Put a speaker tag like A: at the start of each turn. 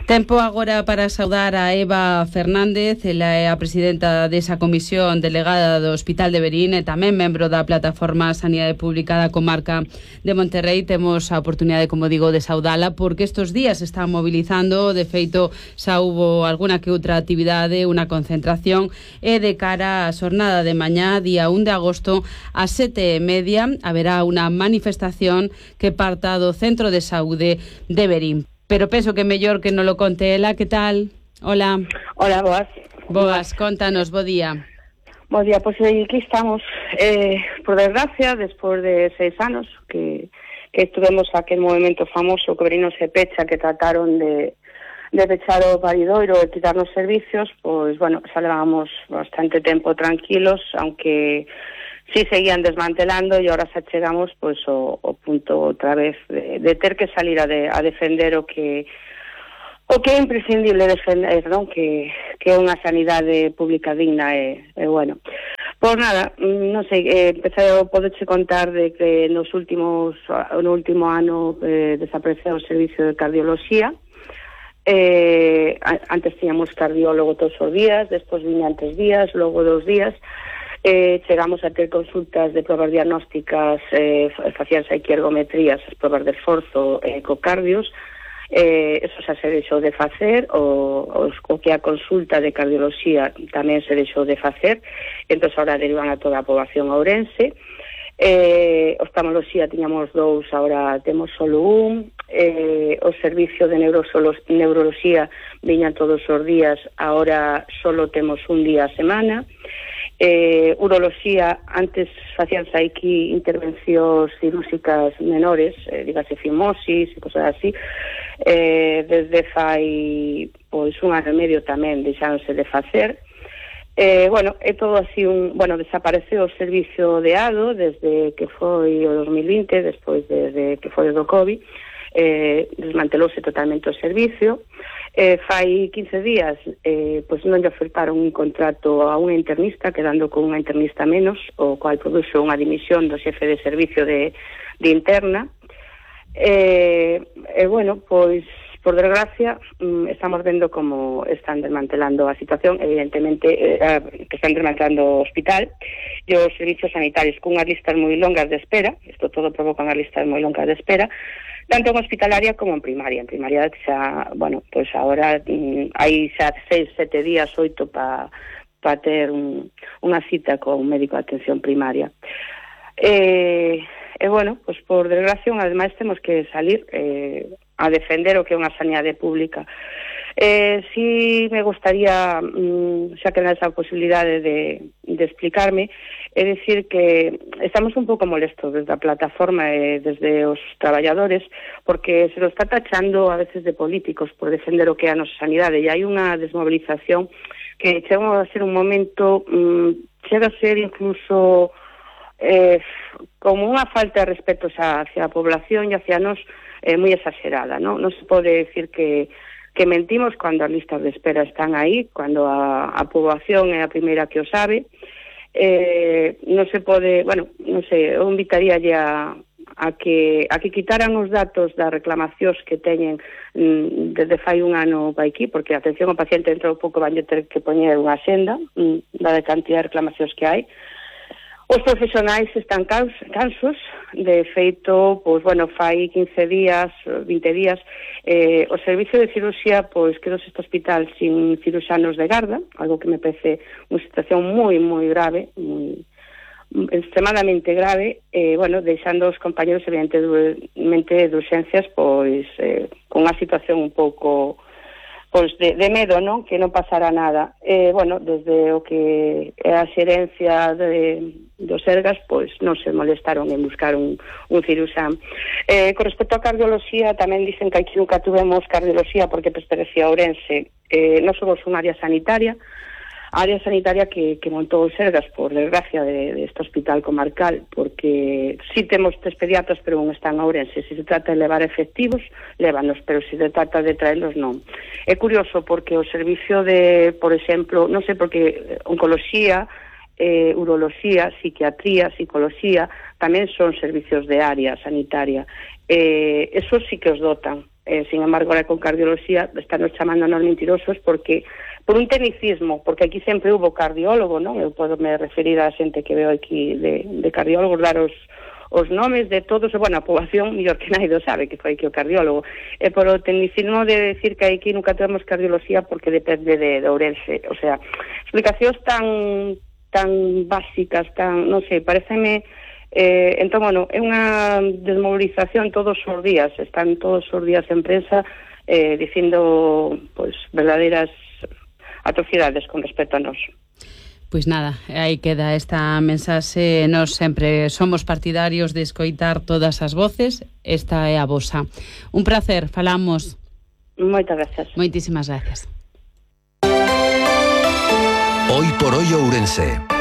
A: Tempo agora para saudar a Eva Fernández, ela é a presidenta desa comisión delegada do Hospital de Verín e tamén membro da plataforma Sanidade Pública da comarca de Monterrei. Temos a oportunidade, como digo, de saudala porque estes días se están mobilizando. De feito, xa hubo alguna que outra actividade, unha concentración, e de cara á xornada de mañá, día 1 de agosto, ás 7:30, haberá unha manifestación que parta do Centro de Saúde de Verín. Pero penso que mellor que non lo conte ela. Que tal? Hola.
B: Hola, boas.
A: Boas, contanos, bo día.
B: Bo día, pois aquí estamos. Por desgracia, despois de 6 anos que estuvemos aquel movimento famoso que Verín se pecha, que trataron de pechar o paridoiro e quitarnos servicios, pois, bueno, xa levábamos bastante tempo tranquilos, aunque sí seguían desmantelando, e ahora xa chegamos pois o punto outra vez de ter que salir a defender o que é imprescindible defender, non? Que é unha sanidade pública digna e bueno. Pois nada, non sei, empecé a poderche contar de que no último ano desapareceu o servicio de cardioloxía. Antes tiñamos cardiólogo todos os días, despois viñan 3 días, logo 2 días. Chegamos a ter consultas de probas diagnósticas, facíanse aquí ergometrías, as probas de esforzo, ecocardios. Eso xa se deixou de facer, o que a consulta de cardioloxía tamén se deixou de facer, entón agora derivan a toda a poboación ourense. Oftalmoloxía tiñamos 2, agora temos solo 1. O servicio de neuroloxía viñan todos os días, agora solo temos 1 día a semana. Uroloxía, antes facíanse aquí intervencións cirúrxicas menores, dígase fimosis e cosas así. Desde fai pois 1 ano e medio tamén deixáronse de facer. Bueno, é todo así desapareceu o servicio de ADO desde que foi o 2020, despois desde que foi o do COVID. Desmantelouse totalmente o servicio. Fai 15 días pois non lle ofertaron un contrato a unha internista, quedando con unha internista menos, o cual produxo unha dimisión do xefe de servicio de interna. Bueno, pois por desgracia estamos vendo como están desmantelando a situación, evidentemente que están desmantelando o hospital e os servicios sanitarios cunhas listas moi longas de espera. Isto todo provoca unhas listas moi longas de espera, tanto en hospitalaria como en primaria. En primaria xa, bueno, pois agora hai xa 6-7 días, 8 para ter unha cita con un médico de atención primaria. Bueno, pois por desgracia, ademais temos que salir a defender o que é unha sanidade pública. Si me gustaría, xa que non esa posibilidade de explicarme, é dicir que estamos un pouco molestos desde a plataforma e desde os traballadores, porque se nos está tachando a veces de políticos por defender o que é a nosa sanidade, e hai unha desmovilización que chega a ser un momento, chega a ser incluso como unha falta de respeto hacia a población e hacia nós moi exagerada, non? Non se pode decir que mentimos cando as listas de espera están aí, cando a poboación é a primeira que o sabe. Non se pode, bueno, non sei, eu invitaríalle a que quitaran os datos das reclamacións que teñen desde fai 1 ano para aquí, porque a atención ao paciente dentro de pouco van ter que poñer unha senda da cantidad de reclamacións que hai. Os profesionais están cansos, de feito, pois, bueno, fai 15 días, 20 días, o servicio de cirurxía, pois, quedou este hospital sin ciruxanos de garda, algo que me parece unha situación moi, moi grave, extremadamente grave, bueno, deixando os compañeros, evidentemente, de urxencias, pois, con unha situación un pouco pois de medo, non? Que non pasará nada. Bueno, desde o que é a xerencia dos Sergas, pois non se molestaron en buscar un ciruxán. Con respecto a cardioloxía, tamén dicen que aquí nunca tuvemos cardioloxía porque pertenecía a Ourense. Non somos unha área sanitaria, que montou os Sergas, por desgracia, deste hospital comarcal, porque si temos 3 pediatras, pero non están a Ourense. Se trata de levar efectivos, lévanos, pero se trata de traelos, non. É curioso porque o servicio de, por exemplo, non sei, porque oncoloxía, uroloxía, psiquiatría, psicoloxía, tamén son servicios de área sanitaria. Eso sí que os dotan. sin embargo, ahora con cardioloxía están nos chamando nos mentirosos porque por un tecnicismo, porque aquí sempre hubo cardiólogo, non? Eu podo me referir a xente que veo aquí de cardiólogos, dar os nomes de todos, bueno, a poboación mellor que naido sabe que foi aquí o cardiólogo, e por o tecnicismo de decir que aquí nunca temos cardioloxía porque depende de Ourense, o sea, explicacións tan básicas, tan, non sei, pareceme entón, bueno, é unha desmovilización todos os días, están todos os días en prensa dicindo, pois, verdadeiras atrocidades con respecto a nós.
A: Pois nada, aí queda esta mensaxe. Nós sempre somos partidarios de escoitar todas as voces. Esta é a vosa. Un placer, falamos.
B: Moitas gracias.
A: Moitísimas gracias.
C: Hoy por hoy Ourense.